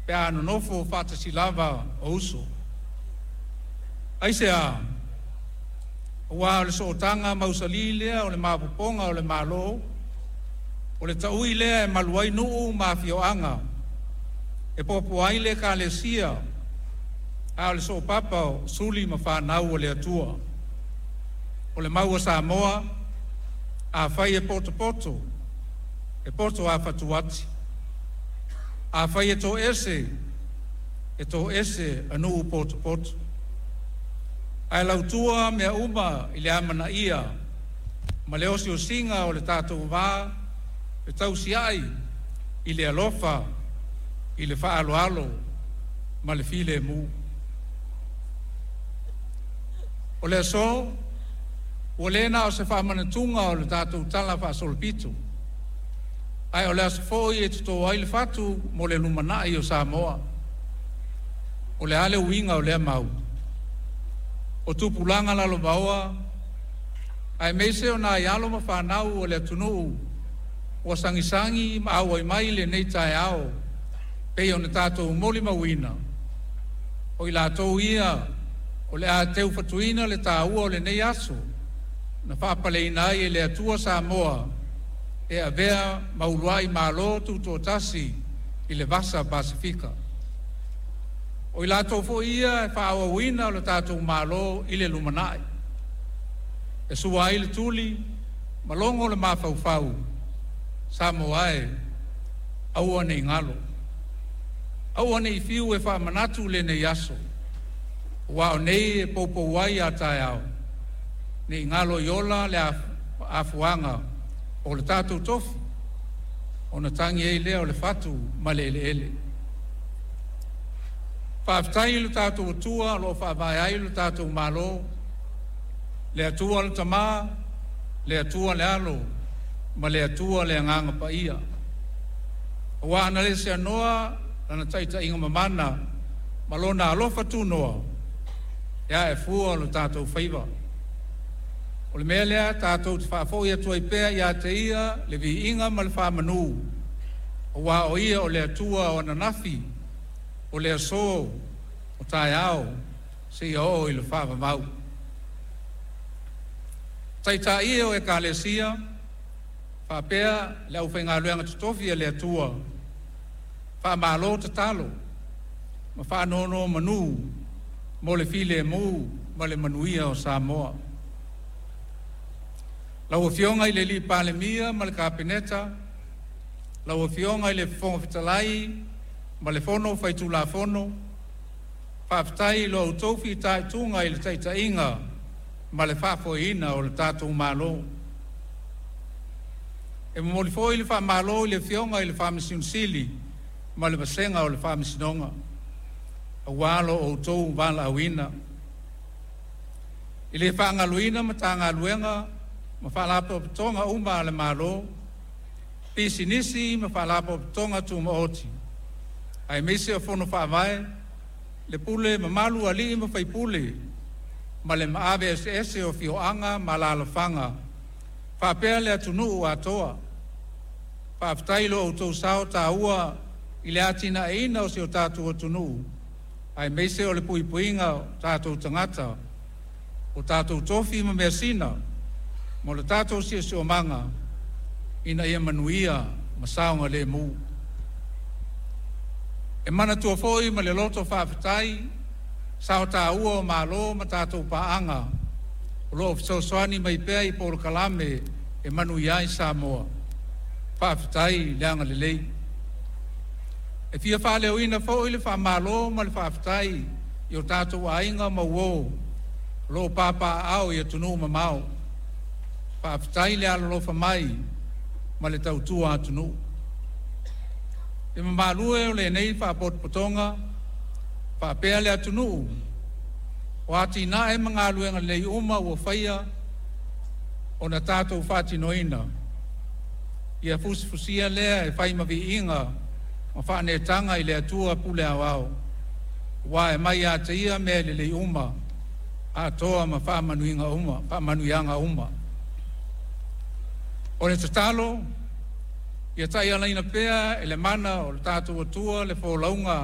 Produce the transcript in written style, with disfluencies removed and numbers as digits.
pe a nonofo faatasi lava o uso. Aisea? Aua o le sootaga mausali lea o le maopoopoga o le Malo, o le taui lea e malu ai nuu ma afioaga, e poapoa ai le Ekalesia, a o le soopapa o suli ma fanau a le Atua. O le mau a Samoa, afai e potopoto, e poto lava fatuati, afai e toese, e toese a nuu potopoto. Ae lautua mea uma i le amanaia ma le osiosiga o le tatou va fetausiai i le alofa, i le faaaloalo ma le filemu. O le aso, ua le na o se faamanatuga o le tatou talafaasolopito, ae o le aso foi e toto ai le fatu mo le lumanai o Samoa. O le a le uiga o lea mau? O tupulaga lalovaoa aemaise o nai alo ma fanau a le atunuu ua sagisagi ma auai mai i lenei taeao pei ona tatou molimauina, o i latou ia o le a teufatuina le taua o lenei aso na faapaleina ai e le Atua Samoa e avea ma uluai Malo Tutoatasi i le Vasa Pasefika. O i latou foi ia e faaauauina lo tatou Malo i le lumanai. E sua ai le tuli ma logo le mafaufau, Samoa e, aua ne i galo, aua ne i fiu e faamanatu lenei aso, aua o nei e poupou ai a taeao, ne i galo i ola le afuaga o le tatou tofi, ona tagi ai lea o le fatu ma le eleele. Faafetai i lo tatou Atua o lo o faavae ai lo tatou Malo, le Atua le Tama, le Atua le Alo ma le Atua le Agaga Paia. Aua ana le seanoa Lana taitaiga mamana ma Lona alofa tunoa, e ae fua lo tatou faiva. O le mea lea tatou te faafoi atu ai pea ia te Ia le viiga ma le faamanu, aua o Ia o le Atua o ananafi, o le aso, o taeao, seia oo i le faavavau. Taitai e o Ekalesia faapea le aufaigaluega totofi a le Atua, faamalo tatalo ma faanonomanu mo le filemu ma le manuia o Samoa. Lau Afioga i le Palemia ma le Kapeneta, lau Afioga i le Fofoga Fetalai ma le Fono Faitulafono, faafetai i lo outou fitaituga i le taitaiga ma le faafoeina o le tatou Malo. E momoli foi le faamalo i le Afioga i le Faamasino Sili ma le vasega o le Faamasinoga, aua lo outou valaauina. E le faagaloina Matagaluega ma Faalapotopotoga uma a le Malo, Pisinisi ma Faalapotopotoga Tumaoti, aemaise o Fono Faavae, le pule mamalu a alii ma faipule ma le maave eseese o afioaga ma alaalafaga faapea le atunuu atoa. Faafetai i lo outou sao taua i le atinaeina o si o tatou atunuu aemaise o le puipuiga o tatou tagata, o tatou tofi ma measina mo le tatou siosiomaga ina ia manuia ma saogalemu. E manatua foi ma le loto faafetai sao taua o malo ma tatou paaga o lo o fesoasoani mai pea i polokalame e manuia ai Samoa. Faafetai le agalelei. E fia faaleoina foi le faamalo ma le faafetai i o tatou aiga ma uo o lo o papaaao i atunuu mamao. Faafetai le alolofa mai ma le tautua atunuu. Le mamalu e o lenei Faapotopotoga faapea le atunuu, o atinae ma galuega lelei uma ua faia ona tatou faatinoina, ia fusifusia lea e fai ma viiga ma faaneetaga i le Atua Pule Aoao, aua e mai ia te Ia mea lelei uma atoa ma faamanuiaga uma. O le tatalo, ia taialaina pea e le mana o lo tatou Atua le folauga